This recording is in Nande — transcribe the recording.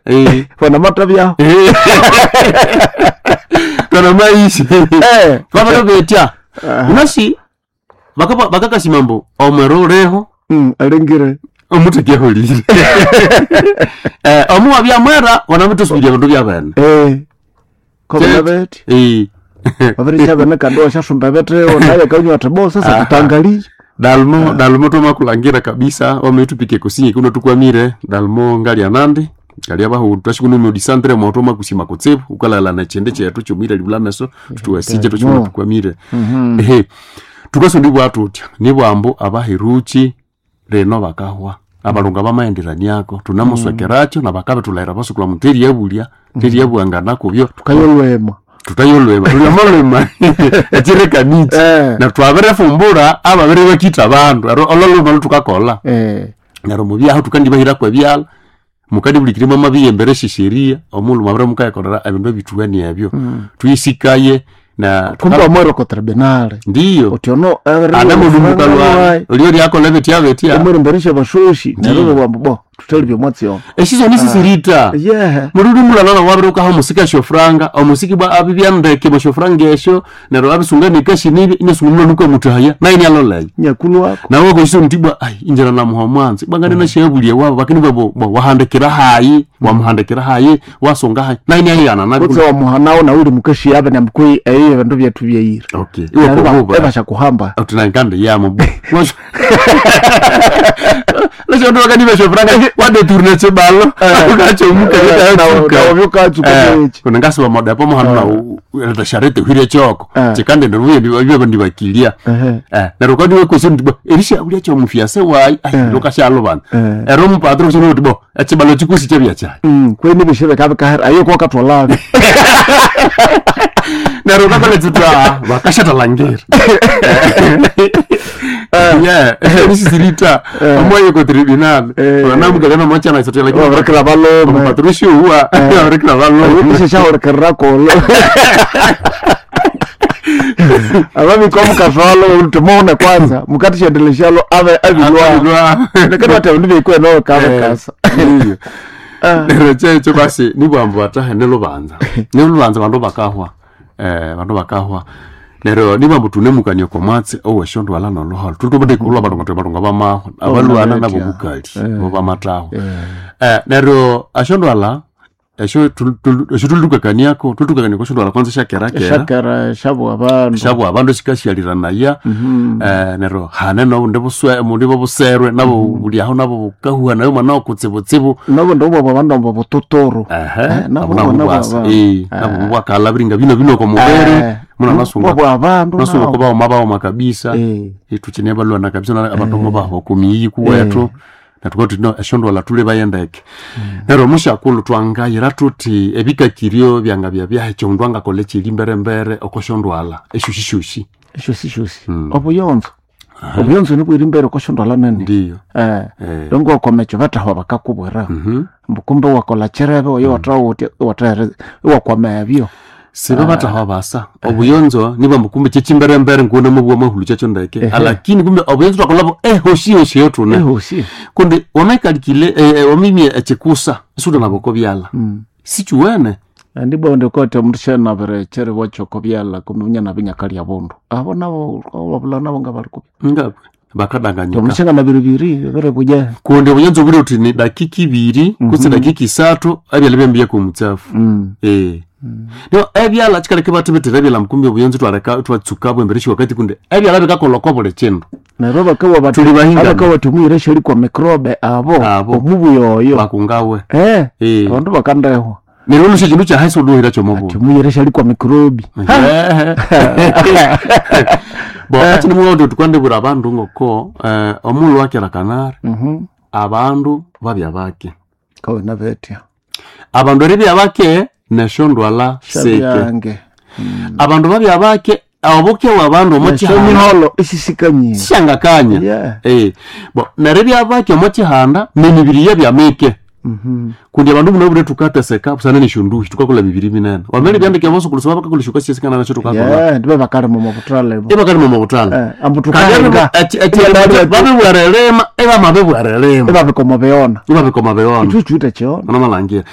Eh. Fana matabyaho. Kana maishi. Eh. Vavalovetya unasi bakakasimambo omwero uleho. Alengire. Omutekeholire omuwa byamwera wanamutosubiria bindu byabene. Eh. Kobona beti. Eh. Babiri bene kandi washasumba bete naye kanywa ati bo sasa tutangalie. Dalmo dalmo tomakulangira kabisa wameitupike kusinye kuno tukwamire dalmo ngalya nandi ngalya bahu twashikuno disandre moto makusima kutsibu ukalala na chende chetu chumira libula meso tutuwasije tuchikuno tukwamire. Ehe, tukaso ndibwa tutya nibwambo abaheruchi reno bakahwa abalunga bamaenderaniako tunamuswekeracho nabakabe tulaira basukula muteri yabulya teri yabwangana kubyo. Tukayolwema. Tutayolwema tulyamolwema echirekanichi. Eh. Na twabirefumbura ababiri bakita abandu ero ololuma lutukakola. Eh. Neryo mubyaho tukandibahirako ebyala mukandibulikirimo amabiyembere eshisheria omulhu mwabire mukayikolera ebindu ebithuweni ebyo tuyisikaye na Kumbe omwero ko tribunal. Ndiyo. Otiono anamunumukalwa olio lyakola betya betya. Omwero mberesha bashoshi neryo bwambo bo tutali byomwatsi yo. Eshiso nisisirita. Yeah. Mululu mulala wabire ukaha omusika shofranga omusiki bwa abibyandeke boshofranga esho neryo abisunga nikashinibi inasunga nuko mutahaya naye aloleye. Nyakulu wako. Nawe koshisa mutibwa ai injira namuha mwanzi bwangane nashabulie wabo bakini babo wahandikira hayi wamuhandikira hayi wasonga hayi naye niyayana nabi. Kutse wa muhanao na uli mukashi yabe na mkui eyo bindu byetu byeyira. Okay, iwe kububa Ebasha kuhamba. utinanganda yamo lasho ndo wakani bashofranga wadeturne chibalo ukachomuka. Na vyokatsuka mechi. Kunangasiba modapo muhanu na sharete hwire choko chikande ndoruye ndibyo ndibakilia. Ehe. Neryo kandi wekwesi ndibo erisha ulya chomufyase wayi ai lokashalobana ero mupatro kuno kuti bo echibalo chikusi chebya chayi. Kweni bishebe kabe kahera ayo kwa katwalabe. Neryo kakola tsitwa vakashatalangira yeah nisisirita omwaye ko tribunal onamugana mochana isatela. Babarekera balome. Patricio huwa abarekera balome. Ishe shahorekerera kolo. Ababikwa mukaswalo utumone kwanza mukatishendeleshalo abe abilwa. Lakini wate ndibikwe ikwe no kabe kasa. Ndiyo. Neryo checho basi nibwambu batahe nelubanza nelubanza bandu bakahwa bandu bakahwa neryo nibwambu tunemukania komwatsi oweshondwala noluholo tutubutekulwa balunga twe balunga bamahwa abalwana nabo bukali bo bamatahwa neryo ashondwala esho esho tulukakaniako tulukakania koshondwala kwanza shakerakera. Shakera shabu abantu. Shabwa abandu shikashyaliranaya neryo hane nobundi buswe mundi bobuserwe nabo bulyaho nabo bukahuha nayo mwana okutsibutsibu. Nabo ndo bwa bandu abo butotoro. Ehe. Nabo nabo nabo nabubwasa aba. Nabo bubwakala biringa bino bino komubere muna nasunga Bwa abantu. nasunga Nabo. ko baoma baoma kabisa. Tuchine balwana kabisa na abantu mo baho kumiyi kuwethu natuka tuti no eshondwala tule bayendeke neryo mushakulu twangayira tuti ebikakirio byanga byabyahe omundu angakola echili mberembere okoshondwala eshushishushi. Shosi shosi. Obuyonzo. Obuyonzo nibwiri imbere koshondwala nene. Ndiyo. Eh. Dongo wakomecho batahwa bakakubwira. Mbukumbe wakola cherebe oyo watawuti watere wakwama ebyo. Siba batahwa basa obuyonzo niba mukumbe chechimberembere nguna mubwa mahulu chacho ndeke alakini kumbe obuyonzo twakolabo ehoshihoshi yotune. Ehosi. Kundi wamaikalikile wamimye echikusa isuda naboko byala sichuwene. Ndibwa ndikote omundu shanabire chere bwachoko byala kumbe nabinyakali bundu. Abo nabo wabula nabo ngabali kubya. Ngabwe bakadanganyika. Omundu shanganabire biri bire buja. Kundi obuyonzo buli uti ni dakika ibiri kutse dakika isatu ebyala byambiye ku mutsafu. No ebyala chikaleke batibitira ebyala mukumbi obuyonzo twareka twatsuka bwembereshi wakati kundi ebyala bikakolwa buli kindu. Neryo bakawa bati Tuli bahingana. abakawa tumwire shali kwa microbe abo Abo. omubuyoyo. Bakungawe. Eh. Eh. Abandu bakandehwa. Neryo olusha kindu kyahasi oluhira kyomubu. Tumwire shali kwa microbe. Bo ati nimulondo tukwandibura abandu ngoko omulhu wakera kanari abandu babya bake. Kawe nabetya. Abandu eribya bake neshondwala seke. Shabyange. Abandu babya bake obuke bwa bandu omo chihanda Miholo isisikanyire. sishangakanya. Yeah. Bo neribya bake omo chihanda nemibiri yabyamike kundi abandu muno bure tukateseka busana neshonduhi tukakola mibiri minene wamene byandike bosokulusoma bakakola shuka nasho tukakola. Yeah, ndibe bakali mu mabutale bo. Ibakali mu mabutale. Eh, ambu tukahenga. Babibwarelema ebamabibwarelema. Ebabikoma beona. Ibabikoma beona. Ichuchuta cheona. Nomalangira.